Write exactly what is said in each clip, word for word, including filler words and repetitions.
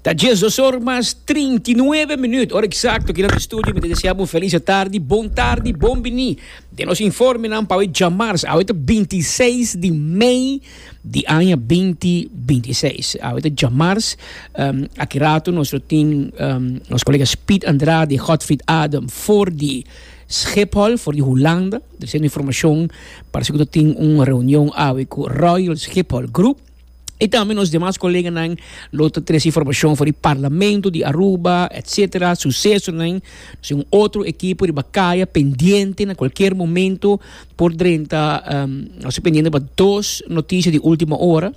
Ta diesdos or mas trinta i nuebe minuut, ora exacto aki na studio. Mi ta desea bo un feliz tardi, bon tardi, bon bini den nos informenan pa awe djamars. Awe ta binti i seis di mei di aña binti binti i seis. Awe ta djamars. Um, aki rato nos lo tin um, nos colega Speed Andrade, Godfried Adam for di Schiphol, for di Hulanda. Er is informacion, parece cu tin un reunion awe cu Royal Schiphol Group. Y tambe nos demas coleganan lo ta trece informacion for di Parlamento di Aruba, etcétera. Sucesonan. Nos un otro ekipo riba caya pendiente na cualkier momento por drenta. Um, nos pendiente pa dos noticia di ultima ora.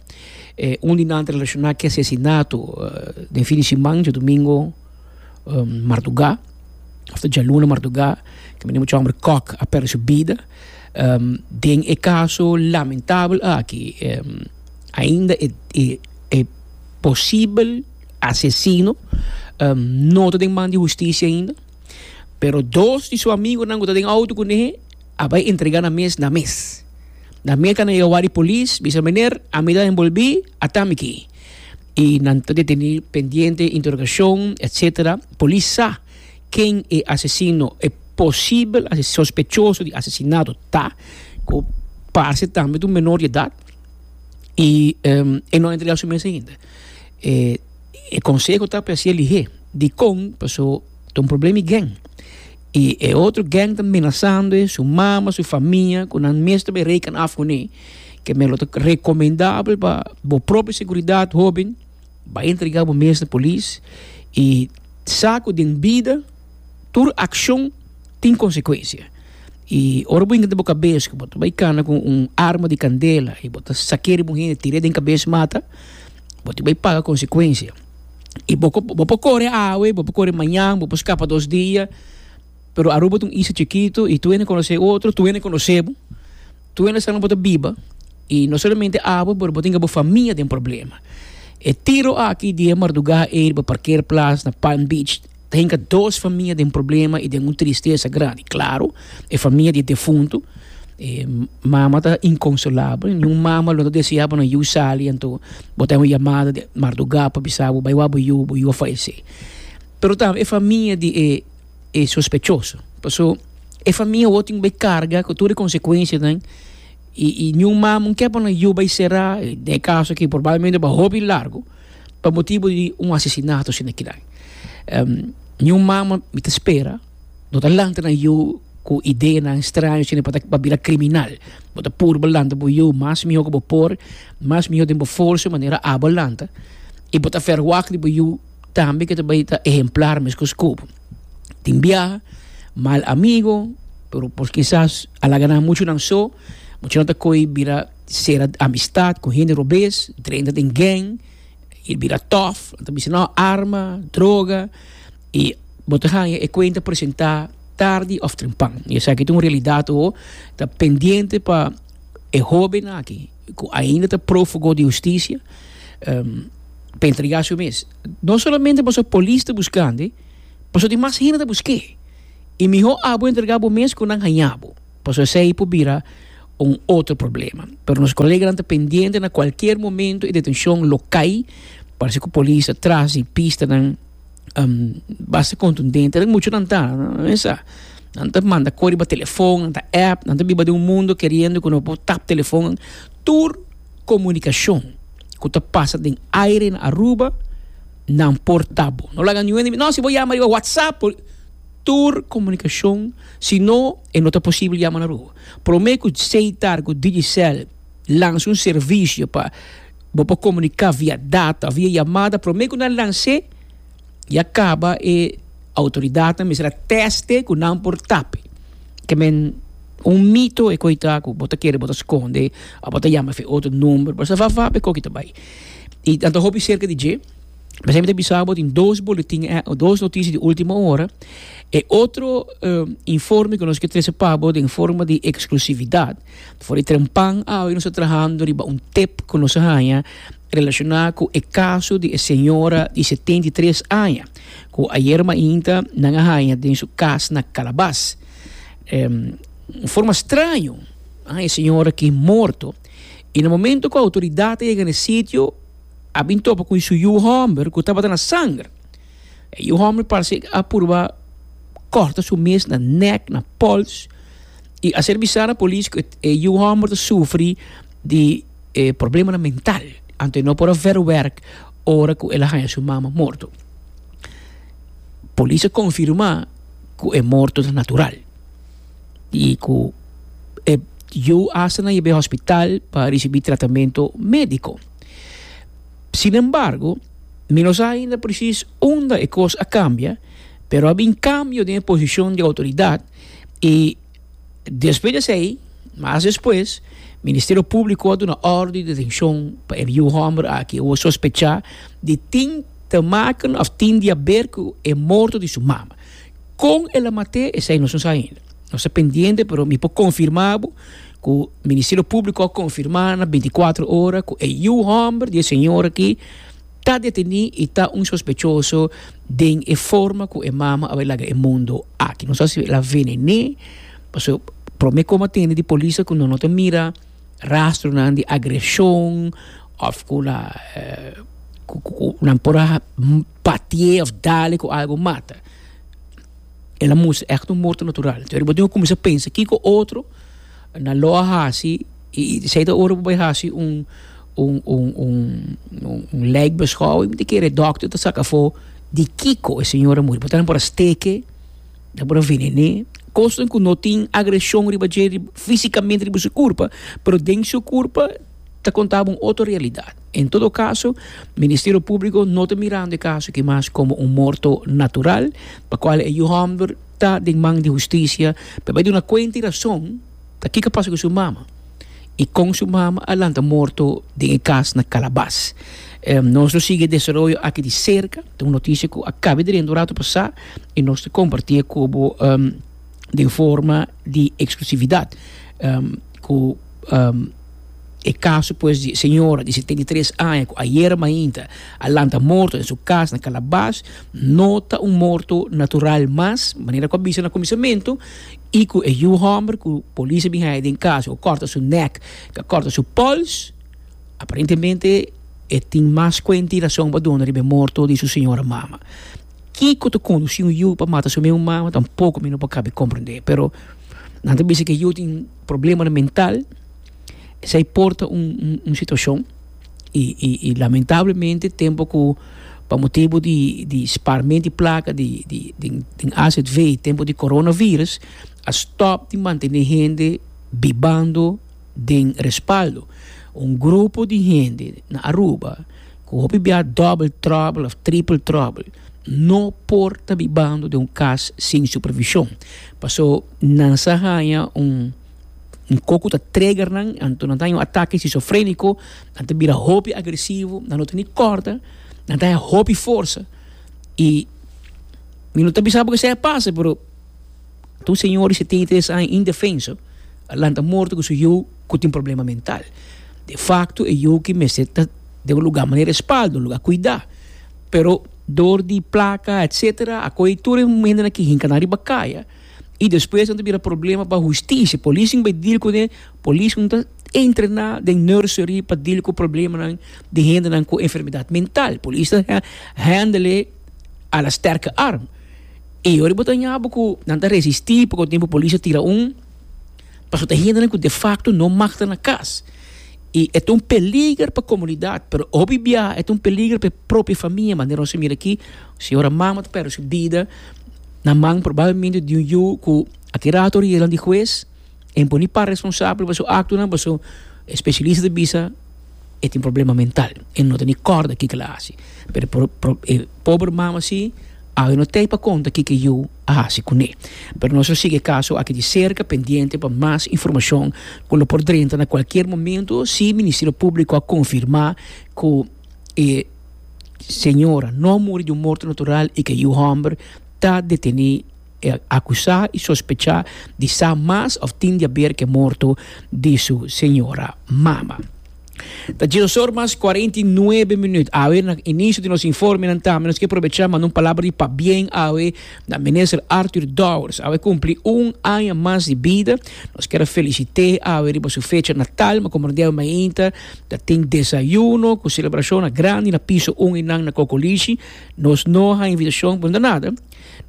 Eh, un di nan relaciona cu asesinato uh, den fin di siman, diadomingo um, marduga, of dialuna marduga, cu e mucha homber Kok a perde su bida. Um, den e caso lamentabel aki, um, ainda e, e, e posibel asesino um, no ta den man di husticia ainda, pero dos di su amigonan cu ta den auto cu ne a bay entrega nan mes na mes. Na mes nan a yega polis, bisa: "Meneer, ami ta envolvi, ata mi aki." Y nan ta deteni, pendiente interrogacion, et cetera. Polis sa ken e asesino, e posibel sospechoso di asesinato ta, cu parce tambe un menor di edad y um, e no a entrega su mes ainda. E, e conseho ta pa ser lige dicon, paso ta un problema gang. Y e otro gang ta menasando su mama, su famia, cu nan mes ta reken af cu ne, ke men lo ta recomendabel pa bo propio seguridad, hoben, bay entrega bo mes na polis y sa cu den bida tur accion tin consecuencia. Y ora bo hinca den bo cabes cu bo ta bay cana cu un arma di candela y bo ta saca un hende, tira den cabes mata, bo ta bay paga consecuencia. Y bo, bo por core awe, bo por core mañan, bo por scapa dos dia, pero Aruba ta un isla chikito y tur hende conoce otro, tur hende conoce bo, tur hende sa bo ta biba y no solamente abo, pero bo tin bo famia den problema. E tiro aki di marduga ey pa parkeerplaats na Palm Beach tin dos famia den problema y den un tristesa grandi. Claro, e famia di defunto, e mama ta inconsolabel, ningun mama lo desea pa nan yiu sali, anto bo ta un yamada di marduga pa bisa bo, bay wak bo yiu, bo yiu a fayece. Pero tambe e famia di e, e sospechoso. Paso e famia awor tin carga cu tur e consecuencianan y, y ningun mama kier pa nan yiu bay sera, den caso aki probablemente pa hopi largo, pa motibo di un asesinato asina aki. Um, ningun mama mi ta spera, no ta lanta nan yiu cu ideanan straño asina pa pa bira criminal. Bo ta purba lanta bo yiu mas miho cu bo por, mas miho den bo forsa manera abo a lanta. Y bo ta verwacht di bo yiu tambe cu tambe ta ehemplar mescos cu bo. Tin biaha, mal amigo, pero por kisas a laga nan mucho nan so, mucho nan ta coy bira sera amistad cu hende robes, drenta den gang, y bira tough, anto bisa no arma, droga, y bo ta haya e cuenta presenta tardi of trempan. Y esaki ta un realidad o ta pendiente pa e hoben aki, cu ainda ta profugo di husticia, um, pa entrega su mes. No solamente paso polis ta buscando, paso tin mas hende ta busca. Y miho abo entrega bo mes cu nan haya bo. Paso esey por bira un otro problema. Pero nos coleganan ta pendiente, na cualkier momento e detencion lo cay. Parce cu polis ta tras di pistanan um, basta contundente. Nan mucho nan ta, no sa. Nan ta manda cos riba telefon, nan ta app, nan ta biba den un mundo keriendo cu no por tap telefon. Tur comunicacion cu ta pasa den aire na Aruba, nan por tap bo. No laga ningun, no, si bo yama riba WhatsApp, tur comunicacion, si no, e no ta posibel yama na Aruba. Prome cu Setar, cu Digicel, lansa un servicio pa bo por comunica via data, via yamada, prome cu nan lansa, ya caba e autoridad mester a test cu nan por tap. Ke men un mito e coita cu bo ta kere bo ta sconde, of bo ta yama fe otro number, pero sa va va pe coki tabay. Y anto hopi cerca di dje, mas sempre bisa bo tin dos boletin, eh, dos noticia di ultima ora. E otro eh, informe cu nos kier trece pa bo den forma di exclusividad. For di trempan awe nos ta trahando riba un tip cu nos a haya relaciona cu e caso di señora di setenta i tres aña, cu ayera mainta nan a haya den su cas na Calabas. Um, forma straño, ah, e señora aki morto. Y na momento cu e autoridad a yega na e sitio, A bin topa ku su yu hòmber ku tabata na sanger. E yu hòmber parse a purba kòrta su mes na nèk, na pòls. I a ser bisá na polis ku e yu hòmber ta sufri di eh, problemanan mental. Anto e no por a verwerk ora ku el a haña su mama morto. Polis a konfirmá ku e morto ta natural i ku e yu hasta nan yeb'é hospital pa risibí tratamentu médiko. Sin embargo, mi no sa ainda presis unda e kos a kambia, pero a bin kambio den e posishon di outoridat i despues di esei, mas despues, Ministerio Públiko a duna òrdu di detenshon pa e yu hòmber aki awor sospechá di tin te maken òf tin di haber ku e morto di su mama. Kon el a mat'é esei nos no sa ainda. Nos ta pendiente pero mi por konfirmá bo ku Ministerio Públiko a konfirmá na binti kuater ora ku e yu hòmber di e señor aki ta detení i ta un sospechoso den e forma ku e mama a bai laga e mundo aki. No sa si el a venen'é, pasobra promé ku a tende di polis ku nan no ta mira rastronan di agreshon òf ku la ku ku nan por a batié òf dal e ku algu mata. El a mustra ègt un morto natural. Entonces bo tin ku kuminsá pensa kiko otro nan lo a hasi i esei ta ora bo bai hasi un un un un un lijkbeschouwing mi ta kere dòkter ta saka afó di kiko e señor a muri. Por ta nan por a steke, nan por a venen'é, kosnan ku no tin agreshon riba dje físikamente riba su kurpa, pero den su kurpa ta konta bo un otro realidat. En todo kaso, Ministerio Públiko no ta mirando e kaso aki mas komo un morto natural, pa kual e yu hòmber ta den man di hustisia pa bai duna kuenta i rason ta kiko a pasa ku su mama i kon su mama a lanta morto den e kas na Kalabas. Nos lo sigui e desaroyo aki di serka, ta un notisia ku a kaba di renta un ratu pasá i nos ta kompartié ku bo den forma di eksklusividat ku e kaso pues di e señora di setenta i tres aña ku ayera mainta a lanta morto den su kas na Kalabas no ta un morto natural mas, manera ku a bisa na kuminsamentu, i ku e yu hòmber ku polis a bin haña den kas ku a kòrta su nèk, ku a kòrta su pòls, aparentemente e tin mas kuenta i rason pa duna riba e morto di su señora mama. Kiko ta kondusí un yu pa mata su mes mama tampoko mi no por kabe komprendé, pero nan ta bisa ku e yu tin problemanan mental. Esei por ta un un situashon i i i lamentablemente tempu ku pa motibu di di sparment di plaka di di den den A Z V tempu di coronavirus a stòp di mantené hende bibando den respaldo. Un grupo di hende na Aruba ku hopi bia dòbel tròbel òf tripel tròbel no por ta bibando den un kas sin supervishon paso nan sa haña un un koko ta trigger nan, anto nan ta haña un atake schizofréniko, nan ta bira hopi agresivo, nan no ta ni kòrda, nan ta haña hopi forsa i mi no ta bisa bo esei a pasa, pero ta un señor di setenta i tres aña indefenso a lanta morto ku su yu ku tin problema mental. De facto e yu ki mester ta den un lugar manera respaldo, un lugar kuidá, pero dor di plaka etcetera a kohe tur e hendenan ki hinka nan riba kaya. I despues nan ta bira problema pa hustisia. Polis tin bai deal kuné, polis no ta entrená den nursery pa deal ku problemanan di hendenan ku enfermedat mental. Polis ta handle a la sterke arm. I ora bo ta haña bo ku nan ta resistí, poko tempu polis a tira un, pasobra ta hendenan ku defakto no mag ta na kas. I e ta un peliger pa komunidat, pero hopi biaha e ta un peliger pa e propio famia, manera nos a mira aki, señora mama ta pèrdè su bida na man probablemente di un yu ku aki rato riba di hues e por ni para responsabel pa su aktonan, pasobra e spesialista ta bisa e tin problema mental, e no ta ni kòrda kiko el a hasi. Pero e pober mama si awe no tei pa konta kiko e yu a hasi kuné. Pero nos lo sigui e kaso aki di serka, pendiente pa mas informashon ku lo por drenta na kualkier momento si Ministerio Públiko a konfirmá ku e señora no a muri di un morto natural i ku e yu hòmber ta detení, akusá i sospechá di sa mas òf tin di aber ku e morto di su señora mama. Ta diesdos or mas cuarenta y nuebe minuut. Awe na inicio di nos informe nan tambe nos ke aprovecha manda un palabra di pabien awe na Minister Arthur Dowers. Awe cumpli un aña mas di bida. Nos kier a felicite awe riba su fecha natal, ma como dia mainta ta tin desayuno cu celebracion na grandi na piso un y nan na Cocolishi. Nos no ha invitacion pa nada.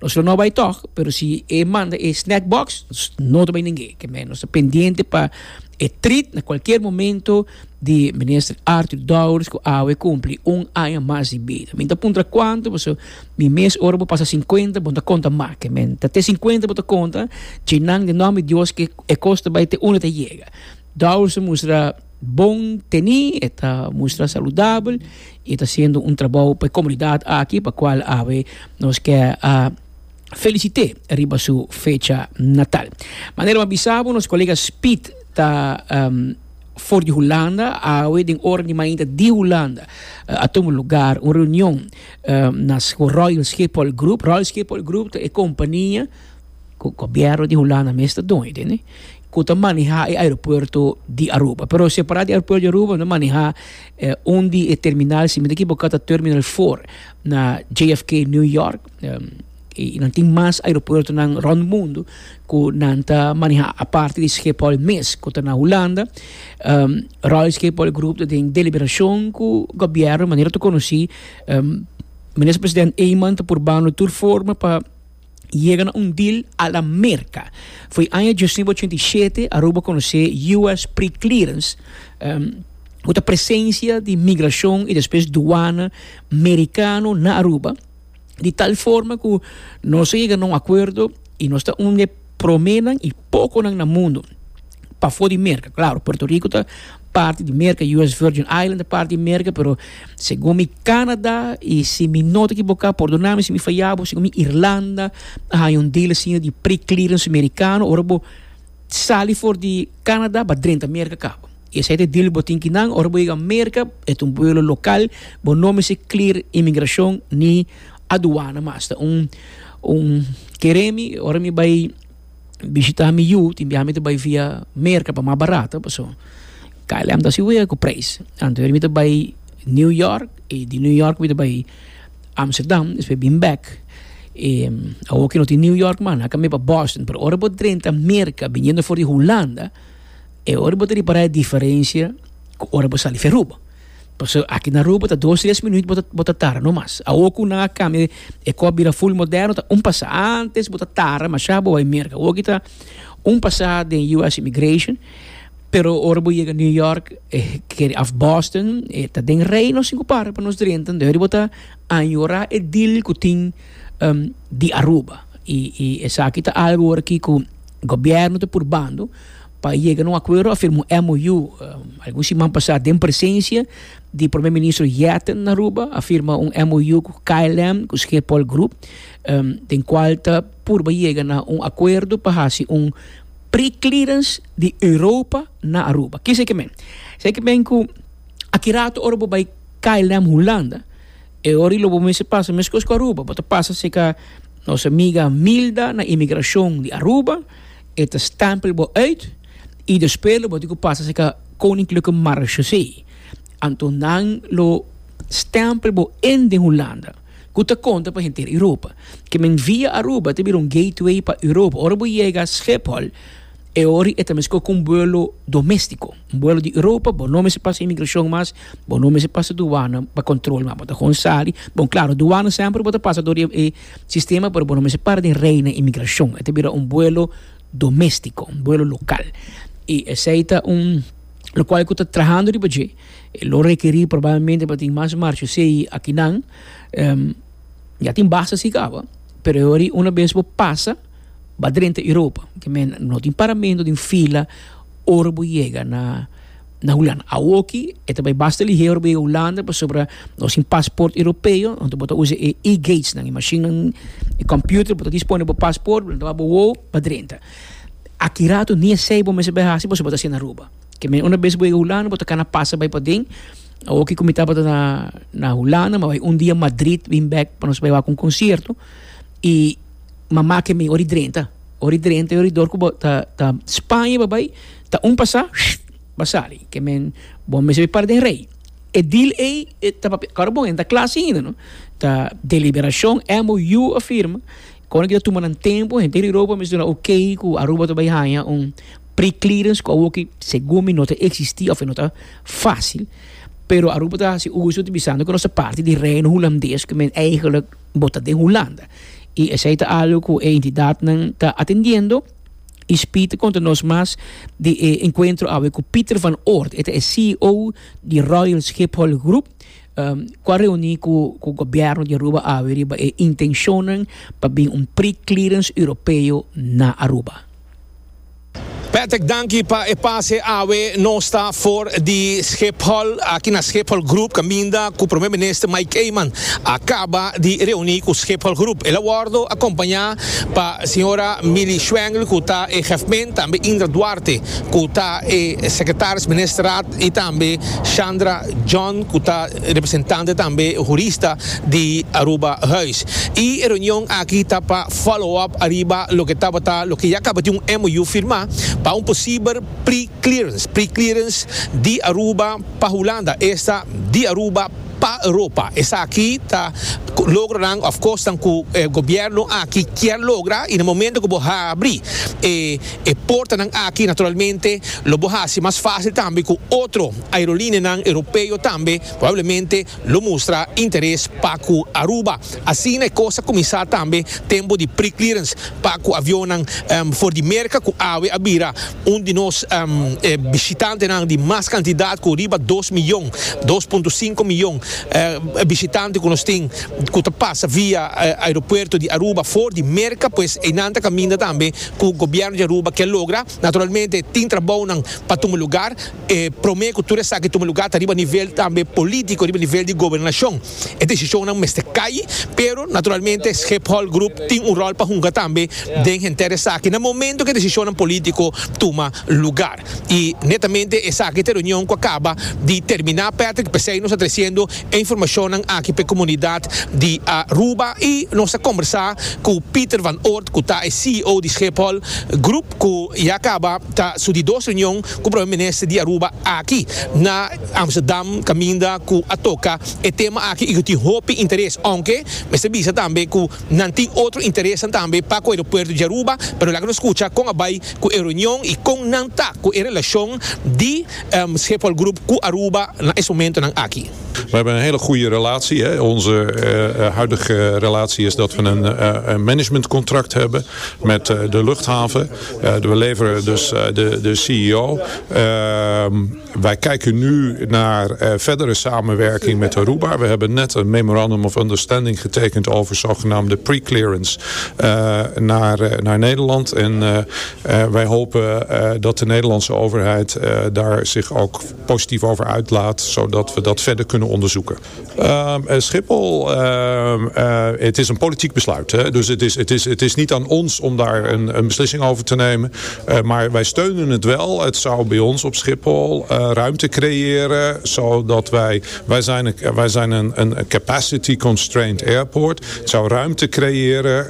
Nos lo no bay toch, pero si e manda e snack box, nos no ta bay ningue. Ke men nos ta pendiente pa e treat na cualkier momento di Minister Arthur Dowers cu awe cumpli un aña mas di bida. Mi ta puntra cuanto, paso mi mes ora bo pasa cincuenta, bo ta conta mas. Ke men ta te cincuenta bo ta conta, djinan den nomber di Dios ke e cos ta bay te unda ta yega. Dowers a mustra bon teni, e ta mustra saludabel y e ta haciendo un trabou pa e comunidad aki pa cual awe nos ke a felicite riba su fecha natal. Manera mi a bisa bo, nos colega Speed ta um, for di Hulanda, awe den ora di mainta di Hulanda a tuma lugar un reunion um, na Royal Schiphol Group. Royal Schiphol Group ta e compania cu gobierno di Hulanda mes ta doño, tende? Cu ta maneha e aeropuerto di Aruba. Pero separa di aeropuerto di Aruba, nan maneha eh, un di e terminal, si mi ta equivoca, ta Terminal cuater na J F K, New York. Um, y nan tin mas aeropuertonan rond mundo cu nan ta maneha aparte di Schiphol mes, cu ta na Hulanda. Um, Royal Schiphol Group ta den deliberacion cu gobierno, manera ta conoci, um, Minister President Eman ta purbando tur forma pa yega na un deal a la Merca. For di aña diesnuebe ochenta y shete Aruba conoce U S Pre-Clearance, um, cu ta presencia di migracion y despues douane mericano na Aruba. Di tal forma cu nos a yega na un acuerdo y nos ta un di e promenan y poconan na mundo pafo di Merca. Claro, Puerto Rico ta parti di Merca, U S Virgin Island ta parti di Merca, pero segun mi Canada y si mi no ta equivoca, pordona mi si mi faya bo, segun mi Irlanda, hay un deal asina di pre-clearance mericano, ora bo sali for di Canada, bo a drenta Merca caba. Y esey ta e deal bo tin kinan, ora bo yega Merca, e ta un vuelo local, bo no mester clear inmigracion ni aduana mas. Ta un un kere mi, ora mi bay bishita mi yu, tin biaha mi ta bay via Merca pa mas barata, paso K L M ta si wea cu prijs. Anto mi ta bay New York y di New York mi ta bay Amsterdam, despues bin back. E awor cu no tin New York man, a cambia pa Boston, pero ora bo drenta Merca biniendo for di Hulanda, e ora bo ta ripara e diferencia cu ora bo sali for Aruba. Paso aki na Aruba ta dos, tres minuut bo ta, bo ta tarda, no mas. Awor cu nan a cambia e cos bira full moderno, ta un pasa. Antes bo ta tarda, mas ya bo bay Merca. Awor aki ta un pasa den U S Immigration, pero ora bo yega New York, eh, of Boston, eh, ta den rij nos tin cu para pa nos drenta. Anto bo ta añora e deal cu tin um, di Aruba. Y, y esaki ta algo aki cu gobierno ta purbando pa yega na un acuerdo, a firma un M O U um, algun siman pasa den presencia di Prome Minister Jetten na Aruba, a firma un M O U cu K L M, cu Schiphol Group, um, den cual ta purba yega na un acuerdo pa haci un pre-clearance di Europa na Aruba. Kico esey kiermen? Esey kiermen cu aki rato ora bo bay K L M Hulanda, e ora lo bo mester pasa mescos cu Aruba, bo ta pasa serca nos amiga Milda na inmigracion di Aruba, e ta stempel bo uit y despues lo bo tin cu pasa serca Koninklijke Marechaussee. Anto nan lo stempel bo in den Hulanda, cu ta conta pa henter Europa. Kiermen via Aruba ta bira un gateway pa Europa. Ora bo yega Schiphol, e ora e ta mescos cu un vuelo domestico. Un vuelo di Europa, bo no mester pasa inmigracion mas, bo no mester pasa douane pa control, mas bo ta gewoon sali. Bon, claro, douane semper bo ta pasa door e sistema, pero bo no mester para den rij na inmigracion. E ta bira un vuelo domestico, un vuelo local. Y esey ta un locual cu ta trahando riba dje, lo rekeri probablemente pa tin mas marechaussee akinan, um, ya tin basta si caba, pero ora una bes bo pasa, bo a drenta Europa, kiermen no tin paramento den fila ora bo yega na na Hulanda. Awoki, e ta bay basta lihe ora bo yega Hulanda, pasobra nos tin paspoort europeo, anto bo ta usa e e-gates, nan e machine, e computer, bo ta dispone bo paspoort, bo ta bo wo, bo a drenta. Aki rato ni esey bo mester bay hasi, bo ta na Aruba. Kiermen una bes bo yega Hulanda, bo ta cana pasa bay paden. Awoki cu mi tabata na na Hulanda, m'a bay un dia Madrid, bin back pa nos bay wak un concierto y mama ke mi ori drenta. Ori drenta, ori door ku ta ta Spaña bo bay, ta un pasa, bo a sali. Kiermen Bo mester para den rij. E deal ei ta claro bon, ta kla ainda, no? Ta deliberacion, M O U a firma. Kon ku tuma un tempo, henter Europa mester oké ku Aruba ta bai haña un pre-clearance ku algo ku segun mi no ta existi of no ta fácil. Pero Aruba ta hasi uso di bisando ku nos ta parti di Reino Hulandes, ku men eigenlijk bo ta den Hulanda. I esei ta algo ku e entidatnan ta atendiendo. I Speed konta nos mas di eh, enkuentro awe ku Peter van Oort, e C E O di Royal Schiphol Group, um, ku a reuní ku ku gobièrnu di Aruba awe riba e intenshon pa bin un pre-clearance europeo na Aruba. Patrick, danki pa e pase. Awe nos ta for di Schiphol, aki na Schiphol Group, kaminda ku Promé Minister Mike Eman a kaba di reuní ku Schiphol Group. El a wòrdu akompañá pa señora Mili Schwengle, ku ta e chefman, tambe Indra Duarte, ku ta e sekretaris ministerraad, i tambe Chandra John, ku ta representante tambe hurista di Aruba Huis. E reunion aki ta pa follow up ariba loke tabata, loke ya a kaba di un M O U firmá pa un posibel pre-clearance, pre-clearance di Aruba pa Hulanda, esta di Aruba pa Europa. Esaki ta logro, of course, ku e gobièrnu aki ke logra i na momento ku bo habri e, e porta aki, naturalmente lo bo hasi mas fásil tambe ku otro aerolínea europeo tambe probablemente lo mustra interes pa ku Aruba. Asina e kos a kuminsá tambe tempu di pre-clearance pa ku avion um, for di Merka, ku awe a bira un di nos um, eh, bishitantenan di mas kantidat, ku riba dos mion, dos punto sinku mion eh, bishitante ku nos tin ku pasa via eh, aeropuerto di Aruba for di Merka. Pues einan ta kaminda tambe ku gobièrnu di Aruba ke logra. Naturalmente tin trabou pa tuma lugá, eh, promé ku tur esaki tuma lugá riba nivel tambe polítiko, riba nivel di gobernashon, e desishonnan mester kai, pero naturalmente Schiphol Group tin un ròl pa hunga tambe den henter esaki na momento ku e desishon polítiko tuma lugá. I netamente esaki ta e reunion ku a kaba di terminá, Patrick. P'esei nos ta tresiendo informashon aki pa e komunidat di Aruba i nos a kombersá ku Peter van Oort, ku ta C E O di Schiphol Group, ku ya a kaba ta su di dos reunion ku Promé Minister di Aruba aki na Amsterdam, kaminda ku a toka e tema aki i ku tin hopi interes, aunke mester bisa tambe ku nan tin otro interes tambe pa e aeropuerto di Aruba, pero laga nos skucha kon a bai ku e reunion i kon nan ta ku e relashon di um, Schiphol Group ku Aruba na e momentonan aki. We hebben een hele goede relatie, hè. Onze uh, huidige relatie is dat we een, uh, een managementcontract hebben met uh, de luchthaven. We leveren dus de, de C E O. Ehm, wij kijken nu naar verdere samenwerking met Aruba. We hebben net een memorandum of understanding getekend over zogenaamde pre-clearance naar, naar Nederland. En wij hopen dat de Nederlandse overheid daar zich ook positief over uitlaat, zodat we dat verder kunnen onderzoeken. Uh, Schiphol, uh, uh, het is een politiek besluit, hè? Dus het is, het, is, het is niet aan ons om daar een, een beslissing over te nemen. Eh, maar wij steunen het wel. Het zou bij ons op Schiphol ruimte creëren, zodat wij... Wij zijn, een, wij zijn een, een capacity constrained airport. Het zou ruimte creëren.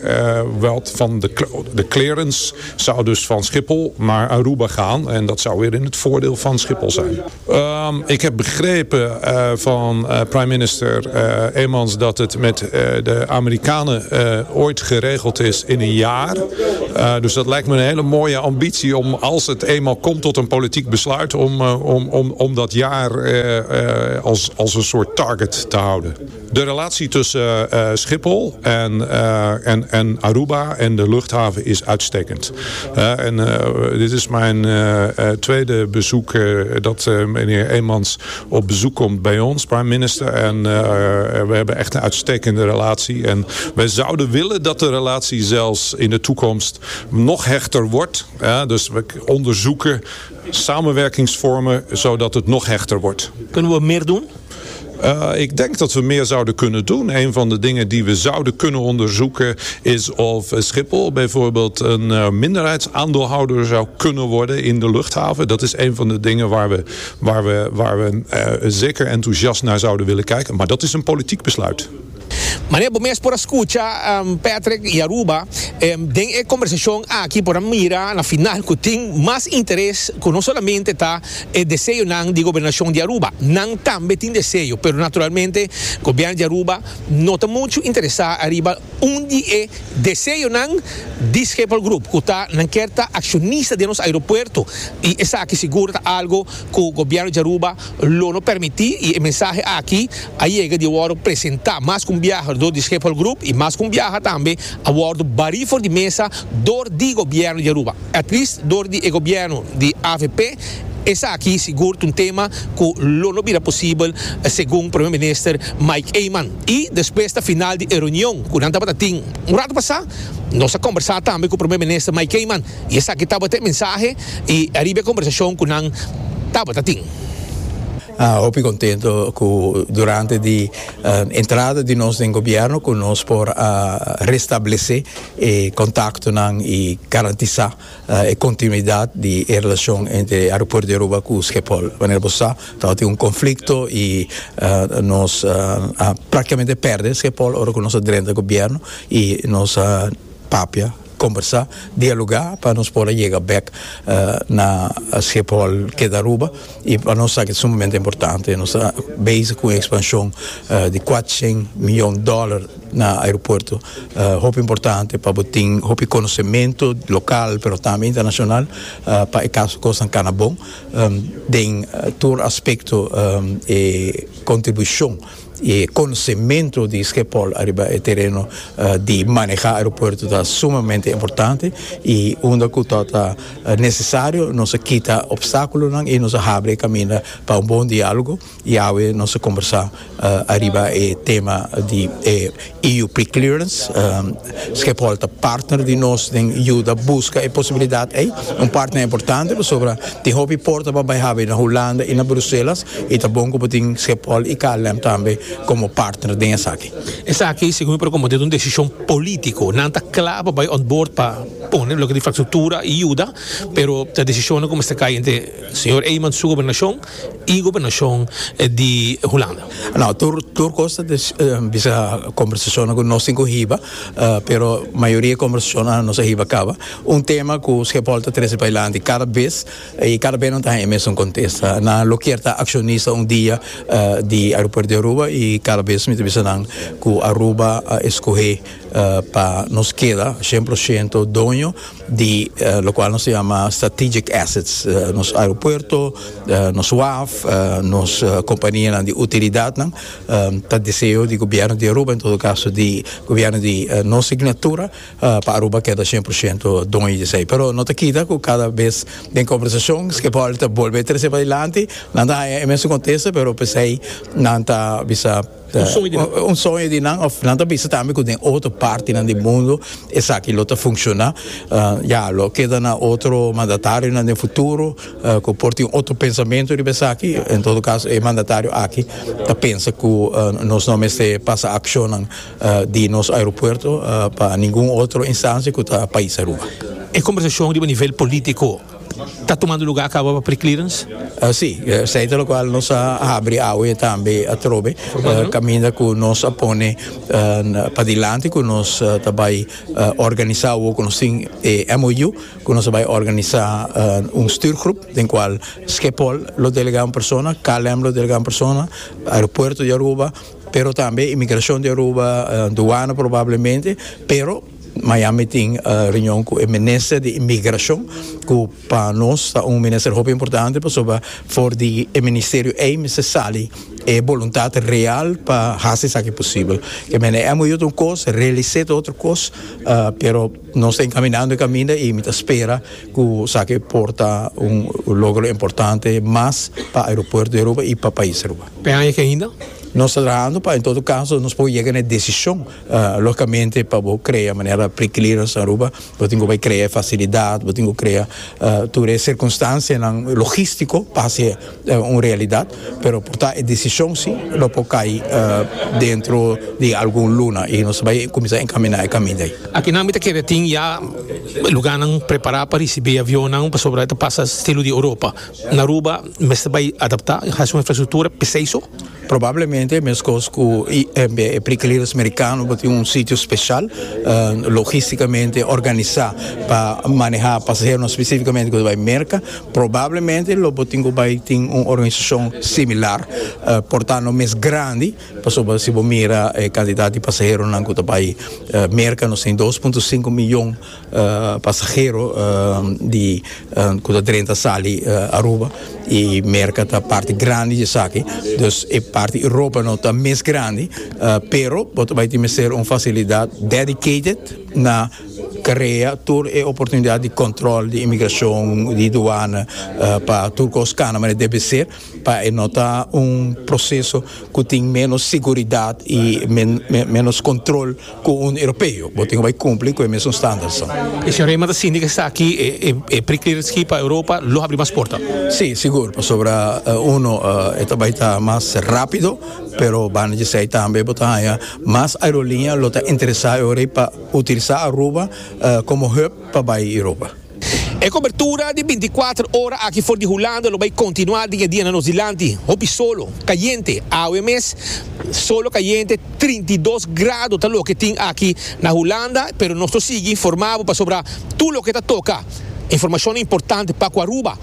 Wat van de, de clearance zou dus van Schiphol naar Aruba gaan. En dat zou weer in het voordeel van Schiphol zijn. Um, ik heb begrepen van prime minister uh, Emans dat het met uh, de Amerikanen uh, ooit geregeld is in een jaar. Dus dat lijkt me een hele mooie ambitie om, als het eenmaal komt tot een politiek besluit, om, om, om, om dat jaar als, als een soort target te houden. De relatie tussen Schiphol en, en, en Aruba en de luchthaven is uitstekend. En dit is mijn tweede bezoek dat meneer Emans op bezoek komt bij ons, prime minister. En uh, we hebben echt een uitstekende relatie. En wij zouden willen dat de relatie zelfs in de toekomst nog hechter wordt. Ja, dus we onderzoeken samenwerkingsvormen zodat het nog hechter wordt. Kunnen we meer doen? Uh, ik denk dat we meer zouden kunnen doen. Een van de dingen die we zouden kunnen onderzoeken is of Schiphol bijvoorbeeld een uh, minderheidsaandeelhouder zou kunnen worden in de luchthaven. Dat is een van de dingen waar we, waar we, waar we uh, zeker enthousiast naar zouden willen kijken. Maar dat is een politiek besluit. Manera bo mes por a scucha, um, Patrick y Aruba, um, den e conversacion aki por a mira na final cu tin mas interes cu no solamente ta e deseo nan di gobernacion di Aruba, nan tambe tin deseo, pero naturalmente gobierno di Aruba no ta mucho interesa ariba un di e deseonan di Schiphol Group, cu ta nan kier ta accionista di nos aeropuerto y esaki sigur ta algo cu gobierno di Aruba lo no permiti. Y e mensahe aki a yega di wordo presenta mas cu un biaha door di Schiphol Group y mas cu un biaha tambe a wordo bari for di mesa door di gobierno di Aruba, at least door di gobierno di A V P. Esaki sigur un tema cu lo no bira posibel, segun Prome Minister Mike Eman. Y despues di final di reunion, cu nan tabatin un rato pasa, nos a conversa tambe cu Prome Minister Mike Eman y esaki tabata e mensahe y ariba e conversacion cu nan tabatin. Ah, hopi contento cu durante di uh, entrada di nos den gobierno cu nos por uh, restablece e contacto nan y garantisa uh, e continuidad di relacion entre aeropuerto di Aruba cu Schiphol. Wanneer bo sa, tabatin un conflicto y uh, nos uh, uh, practicamente perde Schiphol ora cu nos a drenta gobierno y nos uh, papia, conversa, dialoga pa nos por yega back uh, na Schiphol keda Aruba y pa nos ta sumamente importante. Nos ta bezig cu expansion uh, di cuatershen miyon dollar na aeropuerto. Uh, hopi importante pa tin hopi conocemento local, pero tambe internacional uh, pa e caso cos cana bon. Um, den uh, tur aspecto um, e contribucion y conocemento di Schiphol ariba e tereno uh, di maneha aeropuerto ta sumamente importante y unda cu ta necesario nos ta kita obstaculo y nos ta habri caminda pa un bon dialogo. Y awe nos a conversa uh, ariba e tema di eh, E U pre-clearance. um, Schiphol ta partner di nos den yuda busca e posibilidad ey, un partner importante pasobra tin hopi porta pa bay na Hulanda y na Bruselas y ta bon cu tin Schiphol y K L M tambe como partner den esaki. Esaki, segun por como un decision politico, nan ta cla pa bay on board pa pone loke infrastructura y yuda, pero e decision como ta cay entre señor Eman su gobernacion y gobernacion di Hulanda. No, tur tur cos ta uh, bisa conversacion cu nos tin hiba, uh, pero mayoria conversacion nos a hiba caba. Un tema cu Schiphol ta trece pa cada bes y cada bes no ta e mesun contesta. Nan lo kier ta accionista un dia uh, di aeropuerto di Aruba y cada bes mi ta bisa nan cu Aruba uh, scohe uh, pa nos keda cien por ciento doño di uh, loke nos ta yama strategic assets, uh, nos aeropuerto, uh, nos waf, uh, nos uh, compania di utilidad, um, ta deseo di gobierno di Aruba, en todo caso di gobierno di uh, nos signatura, uh, pa Aruba keda cien por ciento doño di esey. Pero no ta kita cu cada bes den conversacion cu por bolbe trece padilanti, nan ta e mesun contesta, pero p'esey nan ta bisa un soño di un soño di nan of nan ta bisa tambe cu den otro parti nan di mundo esaki lo ta funciona. uh, ja lo keda na otro mandatario na futuro uh, cu por tin otro pensamento di esaki. En todo caso, e mandatario aki ta pensa cu uh, nos no mester pasa accion uh, di nos aeropuerto uh, pa ningun otro instancia cu ta pais Aruba. E conversacion di nivel politico ta tumando luga caba pa pre-clearance? Uh, si, esey ta loke nos a habri awe tambe atrobe, uh, caminda cu nos a pone uh, padilanti cu nos uh, tambe uh, organisa cu nos tin eh, M O U, cu nos ta bay organisa uh, un stuurgroep, den cual Schiphol lo delega un persona, K L M lo delega un persona, aeropuerto di Aruba, pero tambe inmigracion di Aruba, uh, douane probablemente, pero mañan mi tin uh, reunion cu e minister di inmigracion, cu pa nos ta un minister hopi importante, pasobra for di e ministerio ey mester sali e voluntad real pa haci esaki posibel. Kiermen e M O U un cos, realisa otro cos, uh, pero nos ta encaminando caminda y mi ta spera cu esaki por ta un, un logro importante mas pa aeropuerto di Aruba y pa pais Aruba. Pe ainda? Nos ta trahando pa, en todo caso, nos por yega na decision, uh, logicamente, pa crea manera pre-clearance Aruba, bo tin cu crea facilidad, bo tin cu crea uh, tur circunstancia logistico pa ser uh, un realidad, pero por ta e decision si lo por cay uh, dentro di algun luna y nos ta bay cuminsa encamina e caminda ey. Aki nan mi ta kere tin ya luga nan prepara pa ricibi avion nan pasobra pasa estilo di Europa. Na Aruba, mester bay adapta, haci un infrastructura p'esey so? Probablemente, mescos cu e pre-clearance americano, tin un sitio special, uh, logisticamente organisa pa maneha pasahero specificamente cu bay Merca, probablemente lo tin cu bay tin un organisacion similar, uh, por ta no mes grandi, pasobra si bo mira e cantidad di pasahero cu ta bay uh, Merca, nos tin dos punto cinco miyon uh, pasahero uh, di uh, cu ta drenta sali uh, Aruba y Merca ta parti grandi di esaki, dus e parti Europa no ta mes grandi, uh, pero bay tin ser un facilidad dedicated na crea tur e oportunidad di control di inmigracion, di douane, uh, pa tur cos cana manera debe ser, pa no ta un proceso cu tin menos seguridad y men, men, menos control cu un europeo. Bo tin cu cumpli cu e mesun standards. E señor Eman sinti cu esaki e, e, e pre-clearance pa Europa lo habri mas porta. Si, sigur, pasobra uh, uno uh, bay ta mas rapido, pero banda di esey tambe bo ta mas aerolinea lo ta interesa pa utilisa Aruba uh, como hub pa Europa. E cobertura di binticuater ora aki for di Hulanda lo bay continua dia dia na nos dilanti. Hopi solo, cayente, awe mes, solo cayente, trinta i dos grado ta loke tin aki na Hulanda, pero nos ta sigui informa pasobra tur loke ta toca. Informacion importante pa Aruba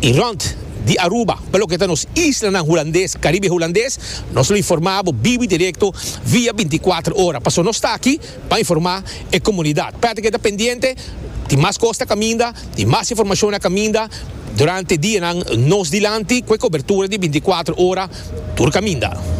y rond di Aruba, pa loke ta nos isla hulandes, Caribe Hulandes, nos lo informa bibo directo via binticuater ora. Paso nos ta aki pa informa e comunidad. Pa keda pendiente, tin mas cos na caminda, tin mas informacion na caminda durante dia nos dilanti, cu cobertura di binticuater ora, tur caminda.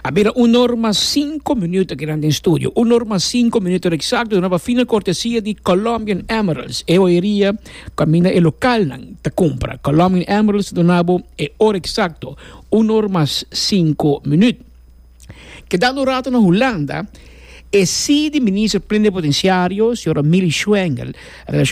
A bira un or mas cinco minuut aki den studio. Un or mas cinco minuut exacto. Una fina cortesia di Colombian Emeralds. E joyeria caminda e local nan ta compra. Colombian Emeralds ta duna bo e ora exacto. Un or mas cinco minuut. Kedando rato na Hulanda, e si di minister plenipotenciario, señora Mili Schwengle,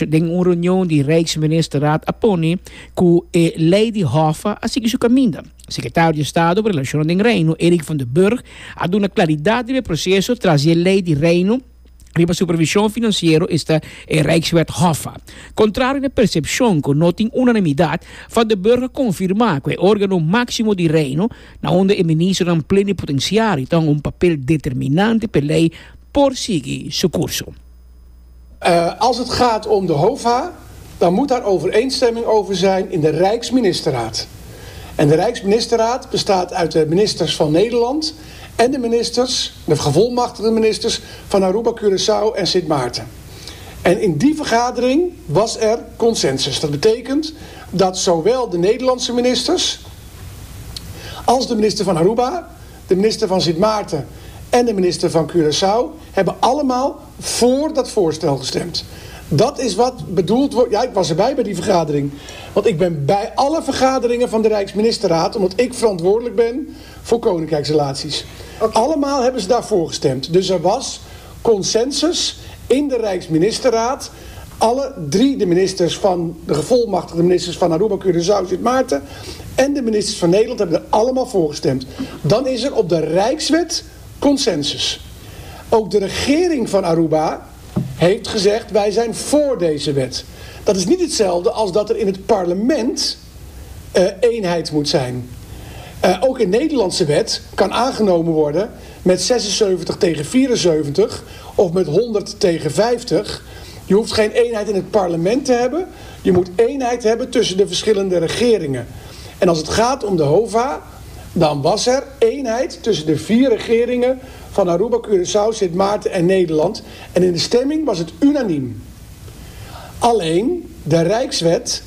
den un reunion di Rijksministerraad a pone cu e ley di HOFA a sigui su caminda. Secretario di Estado pa Relacion den Reino, Eric van der Burg, a duna claridad di e proceso tras e ley di Reino riba supervision financiero, esta e Rijkswet HOFA. Contrario na percepcion cu no tin unanimidad, Van der Burg a confirma cu e organo maximo di Reino, na unda e minister plenipotenciario tin un papel determinante pa e ley por sigui su curso. Uh, als het gaat om de HOFA, dan moet daar overeenstemming over zijn in de Rijksministerraad. En de Rijksministerraad bestaat uit de ministers van Nederland en de ministers, de gevolmachtigde ministers van Aruba, Curaçao en Sint Maarten. En in die vergadering was er consensus. Dat betekent dat zowel de Nederlandse ministers als de minister van Aruba, de minister van Sint Maarten en de minister van Curaçao hebben allemaal voor dat voorstel gestemd. Dat is wat bedoeld wordt. Ja, ik was erbij bij die vergadering. Want ik ben bij alle vergaderingen van de Rijksministerraad, omdat ik verantwoordelijk ben voor koninkrijksrelaties. Okay. Allemaal hebben ze daarvoor gestemd. Dus er was consensus in de Rijksministerraad. Alle drie de ministers van de gevolmachtigde ministers van Aruba, Curaçao, Sint Maarten en de ministers van Nederland hebben er allemaal voor gestemd. Dan is er op de Rijkswet consensus. Ook de regering van Aruba heeft gezegd: wij zijn voor deze wet. Dat is niet hetzelfde als dat er in het parlement uh, eenheid moet zijn. Uh, ook een Nederlandse wet kan aangenomen worden met zesenzeventig tegen vierenzeventig of met honderd tegen vijftig. Je hoeft geen eenheid in het parlement te hebben. Je moet eenheid hebben tussen de verschillende regeringen. En als het gaat om de HOVA, dan was er eenheid tussen de vier regeringen van Aruba, Curaçao, Sint Maarten en Nederland. En in de stemming was het unaniem. Alleen de Rijkswet